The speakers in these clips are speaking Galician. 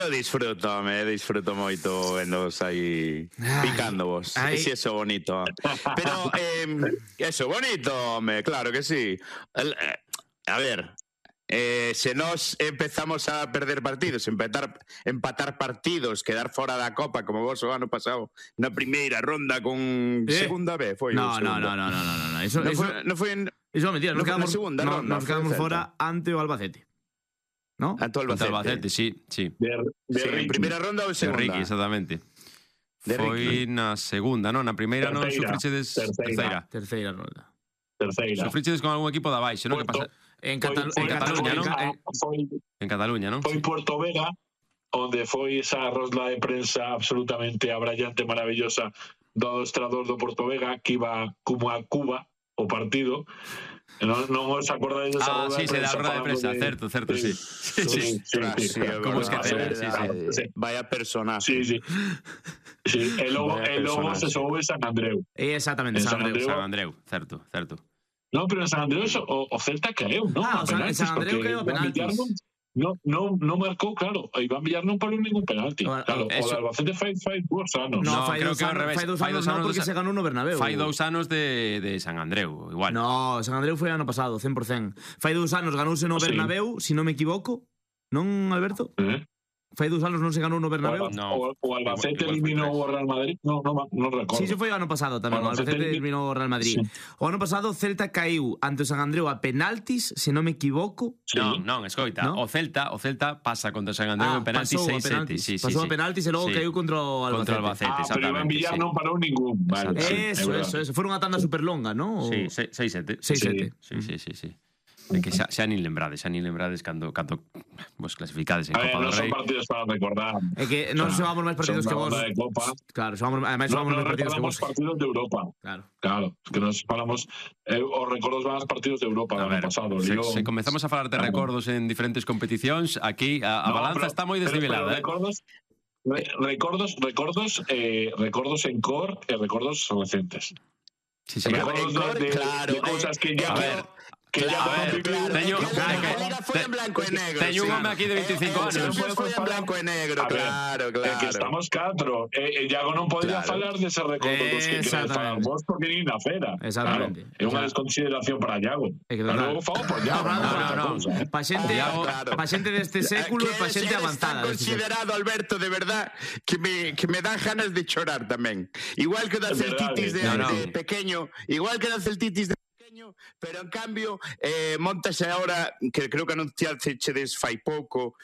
Disfruto moito vendos aí picándovos. Si eso bonito. Pero eso bonito, home, claro que sí. A ver, se nós empezamos a perder partidos, empatar partidos, quedar fora da Copa como vos o ano pasado na primeira ronda con segunda B, foi No, eso é mentira, nos quedamos fora ante o Albacete. ¿No? Ante o Albacete, sí. En primeira ronda ou segunda? De Ricky, exactamente. Foi na segunda, non? Na primeira non sufrichedes terceira ronda. Sufrichedes con algún equipo da baixo, non? Que pasa? En Cataluña, non? En Cataluña, non? Foi Porto Vega, onde foi esa rosla de prensa absolutamente abrallante, maravillosa do adestrador do Porto Vega, que iba como a Cuba o partido. Non os acordáis desa roda de prensa? Sí, da roda de prensa, certo, sí. Como esquecer, sí. Vaya personaje. Sí. E logo se soube San Andreu. Exactamente, San Andreu, certo. Non, pero en San Andreu o Celta caeu, non? En San Andreu caeu a penaltis. No marcou, claro. Iván Villar non parou ningún penalti. Claro, o Albacete fai 2 anos. No, creo que ao revés. Fai 2 anos non, porque se ganou no Bernabéu. Fai 2 anos de San Andreu, igual. No, San Andreu foi ano pasado, 100%. Fai 2 anos ganouse no Bernabéu, se non me equivoco. Non, Alberto? Fai 2 anos non se ganou no Bernabéu. O Albacete eliminou o Real Madrid. Non recordo. Sí, foi o ano pasado tamén. O Albacete eliminou o Real Madrid. O ano pasado o Celta caíu ante o San Andreu a penaltis, se non me equivoco. Non, escoita. O Celta pasa contra o San Andreu en penaltis 6-7. Pasou a penaltis e logo caíu contra o Albacete. Pero Iván Villar non parou ningún. Eso. Foi unha tanda superlonga, non? Sí, 6-7. Sí. É que xa nin lembrades cando vos clasificades en Copa do Rei. Non son partidos para recordar. É que non xogamos máis partidos que vos. Claro, ademais xogamos máis partidos que vos. Partidos de Europa. Claro, que nos falamos os recordos van aos partidos de Europa do ano pasado. Se comezamos a falar de recordos en diferentes competicións, aquí a balanza está moi desnivelada. Recordos en cor e recordos recentes. Sí. Claro, de cousas que ya... Teño en blanco e negro. Teño un home aquí de 25 anos. Foi en blanco e negro, claro. Que estamos 4. E Iago non podría falar dese recordo dos que queres falar vos porque nin na fera. Exactamente. É unha desconsideración para Iago. Logo fago por Iago. Non. Pa xente deste século e pa xente avanzada. Está considerado, Alberto, de verdad, que me dan ganas de chorar tamén. Igual que da celtitis de pequeño, pero en cambio montase ahora, que creo que anunciachedes fai pouco,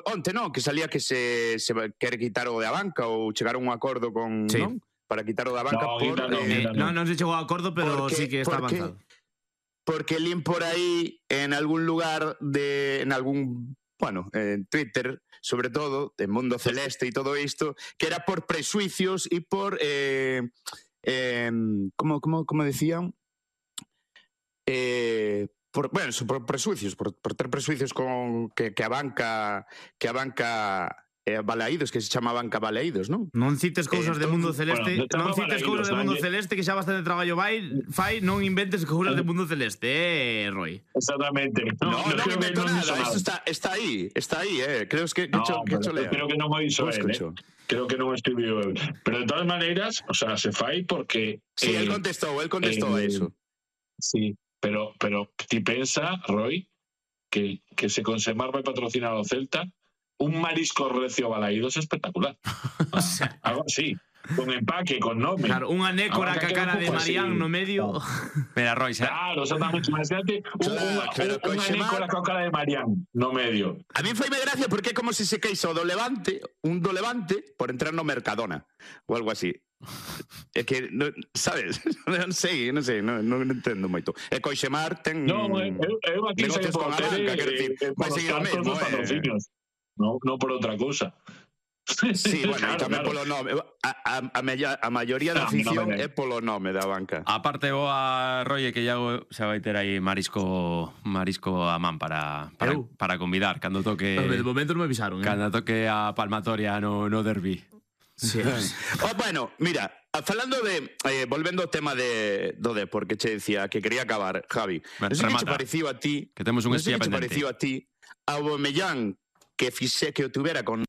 onte non, que salía que se quere quitar o de Abanca ou chegar a un acordo con, non? Para quitar o de Abanca non se chegou a acordo, pero sí que está avanzado. Porque lín por aí en algún lugar en Twitter, sobre todo, en Mundo Celeste e todo isto, que era por presuicios e por como decían, por presuicios, por ter presuicios con que a banca Balaídos, que se chama Banca Balaídos, non? Non cites cousas de Mundo Celeste, Celeste, que xa bastante traballo fai, non inventes cousas de Mundo Celeste, Roy. Exactamente. Non invento nada, isto está aí, creo que cho lea. Creo que non o hizo él, creo que non o escribiu él. Pero de todas maneiras, o sea, se fai porque... Sí, él contestou a eso. Sí, pero ti pensa, Roy, que se Consemar vai patrocinar o Celta, un marisco recio Balaídos espectacular. Algo así. Con empaque, con nome. Claro, unha nécora ca cara de Marián no medio. Mira, Roy, claro, exactamente. Imagínate unha nécora ca cara de Marián no medio. A mí faime gracia porque é como se se queixo do Levante, por entrar no Mercadona ou algo así. É que, sabes? Non sei, non entendo moito. E Coixemar ten negocios con a banca, quer dicir, vai seguir o mesmo. Non por outra cousa. Sí, bueno, e tamén polo nome. A maioría da afición é polo nome da banca. A parte boa, Roy, que Iago xa vai ter aí marisco a man para convidar cando toque... De momento non me avisaron. Cando toque a palmatoria no derbi. Sí. Bueno, mira, falando de... volvendo ao tema do Depor, que che decía que quería acabar, Javi. Non sei que che pareceu a ti... Que temos un espía pendente. Non sei que che pareceu a ti Aubameyang que o tuvera con